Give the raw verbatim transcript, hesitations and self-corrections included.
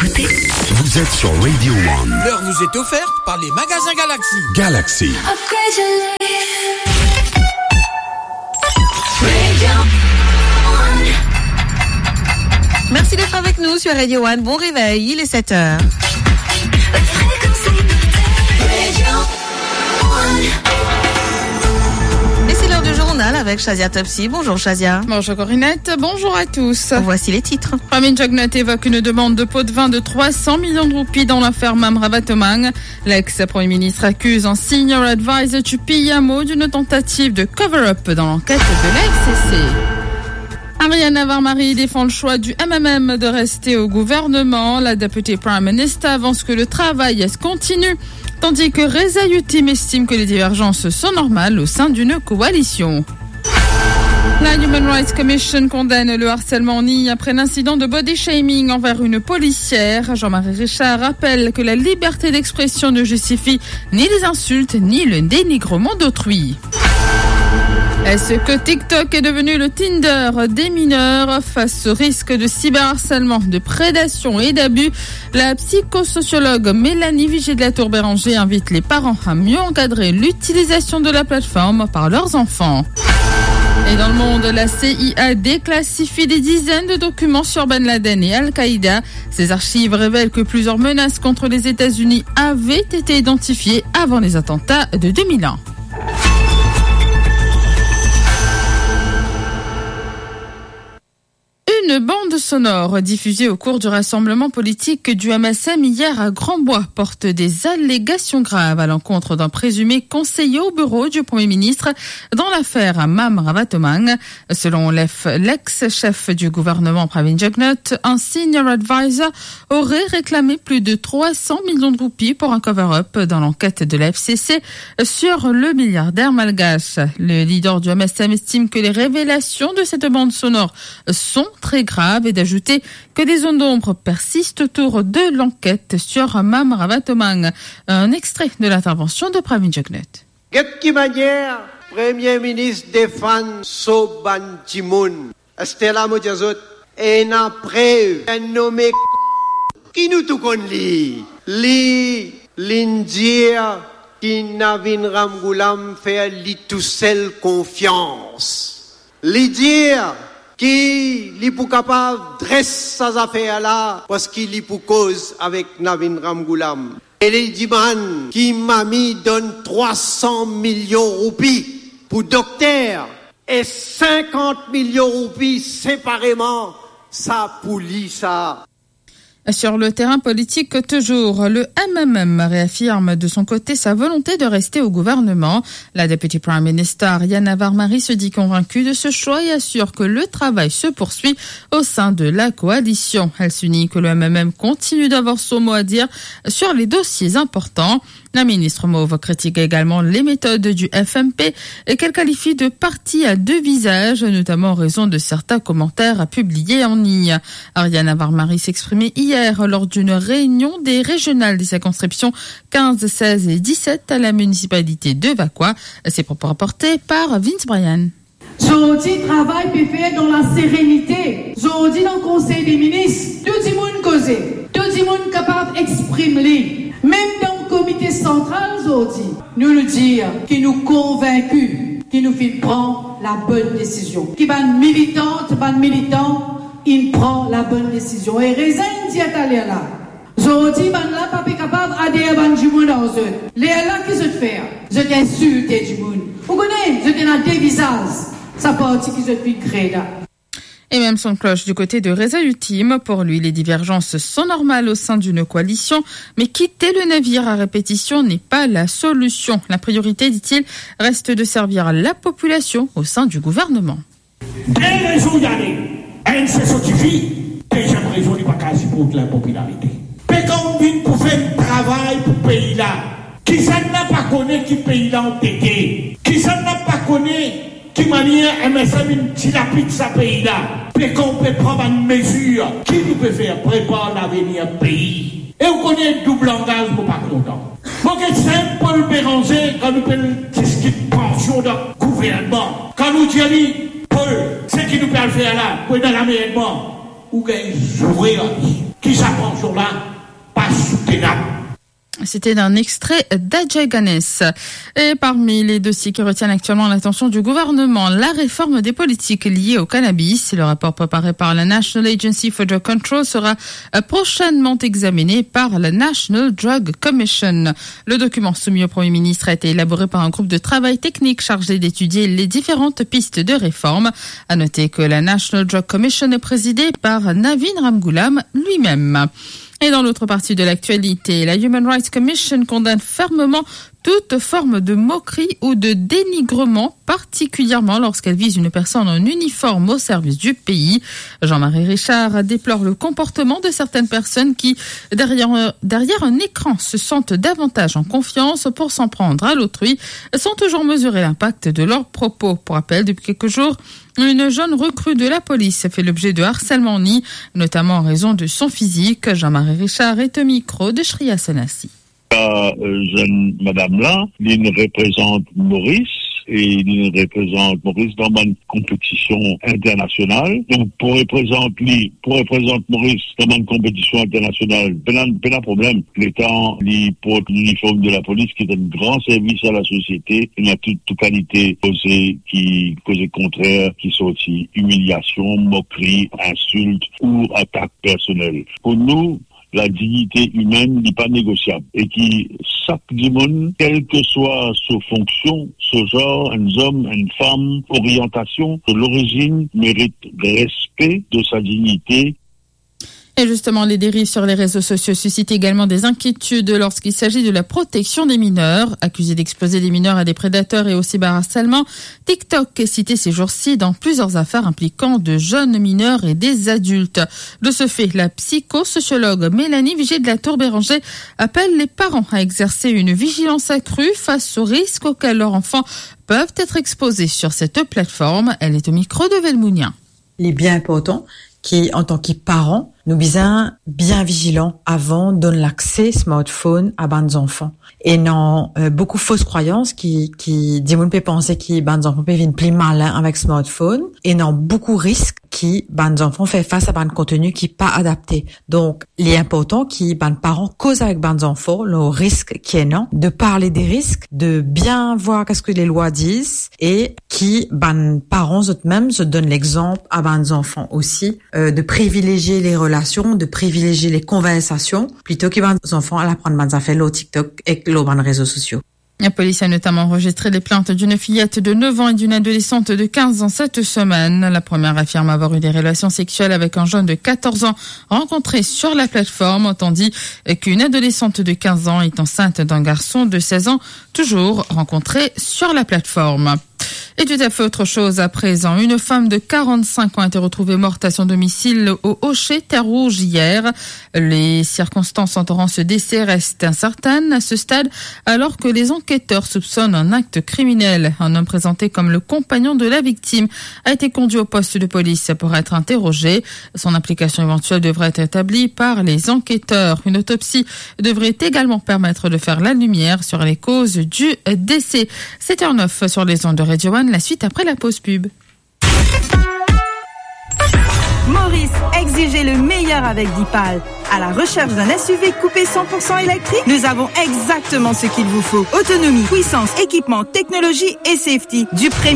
Vous êtes sur Radio One. L'heure vous est offerte par les magasins Galaxy. Galaxy. Upgrade your life. Merci d'être avec nous sur Radio One. Bon réveil, il est sept heures. Et c'est l'heure du journal avec Shazia Topsy. Bonjour Shazia. Bonjour Corinette, bonjour à tous. Voici les titres. Pravin Jugnauth évoque une demande de pot de vin de trois cents millions de roupies dans l'affaire Mam Ravatomange. L'ex-premier ministre accuse un senior advisor du P M O d'une tentative de cover-up dans l'enquête de la F C C. Ariana Varmari défend le choix du M M M de rester au gouvernement. La députée Prime Minister avance que le travail continue, tandis que Reza Yildirim estime que les divergences sont normales au sein d'une coalition. La Human Rights Commission condamne le harcèlement en ligne après l'incident de body shaming envers une policière. Jean-Marie Richard rappelle que la liberté d'expression ne justifie ni les insultes, ni le dénigrement d'autrui. Est-ce que TikTok est devenu le Tinder des mineurs ? Face au risque de cyberharcèlement, de prédation et d'abus, la psychosociologue Mélanie Vigée de la Tour Béranger invite les parents à mieux encadrer l'utilisation de la plateforme par leurs enfants. Et dans le monde, la C I A déclassifie des dizaines de documents sur Ben Laden et Al-Qaïda. Ces archives révèlent que plusieurs menaces contre les États-Unis avaient été identifiées avant les attentats de deux mille un. Une bande sonore diffusée au cours du rassemblement politique du M S M hier à Grand-Bois porte des allégations graves à l'encontre d'un présumé conseiller au bureau du Premier ministre dans l'affaire Mam Ravatomange. Selon l'ex-, l'ex-chef du gouvernement Pravin Jugnauth, un senior advisor aurait réclamé plus de trois cents millions de roupies pour un cover-up dans l'enquête de la F C C sur le milliardaire malgache. Le leader du M S M estime que les révélations de cette bande sonore sont très graves et d'ajouter que des zones d'ombre persistent autour de l'enquête sur Mam Ravatomange. Un extrait de l'intervention de Pravin Jugnauth. Get ki manier Premie Minis defann so bann dimoun. Aster la mo dir zot, ena prev, enn nome ki nou tou konn li. Li, li'nn dir ki Navin Ramgoolam fer li tousel konfians. Li dir ki li pou kapav dres sa zafer la, parski li pou koz avek Navin Ramgoolam. E li dimann ki Mami donn trwa san milion roupi pou dokter e sinkant milion roupi separeman, sa pou li sa. Sur le terrain politique toujours, le M M M réaffirme de son côté sa volonté de rester au gouvernement. La députée Prime Minister Ariana Varmari se dit convaincue de ce choix et assure que le travail se poursuit au sein de la coalition. Elle souligne que le M M M continue d'avoir son mot à dire sur les dossiers importants. La ministre mauve critique également les méthodes du F M P et qu'elle qualifie de parti à deux visages, notamment en raison de certains commentaires publiés en ligne. Ariana Varmari s'exprimait hier lors d'une réunion des régionales des circonscriptions quinze, seize et dix-sept à la municipalité de Vacoas. Ces propos rapportés par Vince Bryan. Zordi travay pe fer dan laserenite. Zordi dan Konsey de Minis, tou dimoun koze, tou dimoun kapav exprim li. Mem dan Komite Santral zordi, nou, nou dir ki nou konvinki ki nou finn pran labonn desizion, ki bann militant, bann militan inn pran labonn desizion. E Reza inn dir taler la, zordi, bannla pa pe kapav ader bann dimoun ar zot. Lerla ki zot fer? Zot insilte dimoun. Ou kone, zot ena de vizaz, sa parti ki zot finn kree la. Et même son de cloche du côté de Reza Yildirim. Pour lui, les divergences sont normales au sein d'une coalition, mais quitter le navire à répétition n'est pas la solution. La priorité, dit-il, reste de servir la population au sein du gouvernement. De rezon li ale. Enn se so tifi, deziem rezon li pa kapav siport linpopilarite. Pe kan vinn pou fer enn travay pou pei la. Kisannla pa kone ki pei la antete? Kisannla pa kone ki manier M S M inn dilapid sa pei la? Pe kan pe pran bann mezir ki nou pe fer prepar lavenir pei? E ou kone doub langaz, mo pa kontan. Mo get sinp Paul Bérenger, kan nou pe diskit pansion dan gouvernman, kan nou dir li, "Paul, seki nou pe al fer la, pou ena lamerdman," ou gagn zoure ar li. Ki sa pansion la? C'était un extrait d'Ajay Ganesh. Et parmi les dossiers qui retiennent actuellement l'attention du gouvernement, la réforme des politiques liées au cannabis. Le rapport préparé par la National Agency for Drug Control sera, euh, prochainement examiné par la National Drug Commission. Le document soumis au Premier ministre a été élaboré par un groupe de travail technique chargé d'étudier les différentes pistes de réforme. À noter que la National Drug Commission est présidée par Navin Ramgoolam lui-même. Et dans l'autre partie de l'actualité, la Human Rights Commission condamne fermement toute forme de moquerie ou de dénigrement, particulièrement lorsqu'elle vise une personne en uniforme au service du pays. Jean-Marie Richard déplore le comportement de certaines personnes qui, derrière, derrière un écran, se sentent davantage en confiance pour s'en prendre à l'autrui, sans toujours mesurer l'impact de leurs propos. Pour rappel, depuis quelques jours, une jeune recrue de la police fait l'objet de harcèlement en ligne, notamment en raison de son physique. Jean-Marie Richard est au micro de Shreya Sanasi. Sa, euh, zenn madam la, li reprezant Moris, e li reprezant Moris dan bann konpetision internasional. Donk, pou reprezant li, pou reprezant Moris dan bann konpetision internasional, pena, pena problem. Letan li port liniform de la polis, ki donn gran servis a la sosiete, ena tou, tou kalite koze ki, koze kontrer, ki sorti imiliasion, mokri, insilt ou atak personel. Pou nou, la dignite imenn, li pa negosiab e ki sak dimoun, kelseswa so fonksion, so zar, enn zom, enn fam, oriantasion, so lorizinn, merit respe de sa dignite. Et justement, les dérives sur les réseaux sociaux suscitent également des inquiétudes lorsqu'il s'agit de la protection des mineurs. Accusé d'exposer des mineurs à des prédateurs et au cyberharcèlement, TikTok est cité ces jours-ci dans plusieurs affaires impliquant de jeunes mineurs et des adultes. De ce fait, la psychosociologue Mélanie Vigier de la Tour Béranger appelle les parents à exercer une vigilance accrue face aux risques auxquels leurs enfants peuvent être exposés sur cette plateforme. Elle est au micro de Velmounia. Li bien inportan ki, antan ki paran, nou bizin bien vizilan avan donn lakse smartphone a bann zanfan. Ena, euh, boukou fos krwayans ki, ki dimoun pe panse ki bann zanfan pe vinn pli malin avek smartphone. Ena boukou risk ki bann zanfan fer fas a bann konteni ki pa adapte. Donk, li inportan ki bann paran koz avek bann zanfan lor risk ki ena, de parle de risk, de bien vwar ki sa lalwa dir, e ki bann paran zot mem, zot donn lexanp a bann zanfan osi, euh, de privilezie le relasion, de privilezie le konversasion, plito ki bann zanfan al aprann bann zafer lor TikTok ek lor bann rezo sosio. La police a notamment enregistré les plaintes d'une fillette de neuf ans et d'une adolescente de quinze ans cette semaine. La première affirme avoir eu des relations sexuelles avec un jeune de quatorze ans rencontré sur la plateforme, tandis qu'une adolescente de quinze ans est enceinte d'un garçon de seize ans, toujours rencontré sur la plateforme. Et tout à fait autre chose à présent. Une femme de quarante-cinq ans a été retrouvée morte à son domicile au Hocher, Terre Rouge, hier. Les circonstances entourant ce décès restent incertaines à ce stade, alors que les enquêteurs soupçonnent un acte criminel. Un homme présenté comme le compagnon de la victime a été conduit au poste de police pour être interrogé. Son implication éventuelle devrait être établie par les enquêteurs. Une autopsie devrait également permettre de faire la lumière sur les causes du décès. Sept heures neuf sur les ondes de Radio One, la suite après la pause pub. Maurice, exigez le meilleur avec Dipal. À la recherche d'un S U V coupé cent pour cent électrique ? Nous avons exactement ce qu'il vous faut. Autonomie, puissance, équipement, technologie et safety. Du premier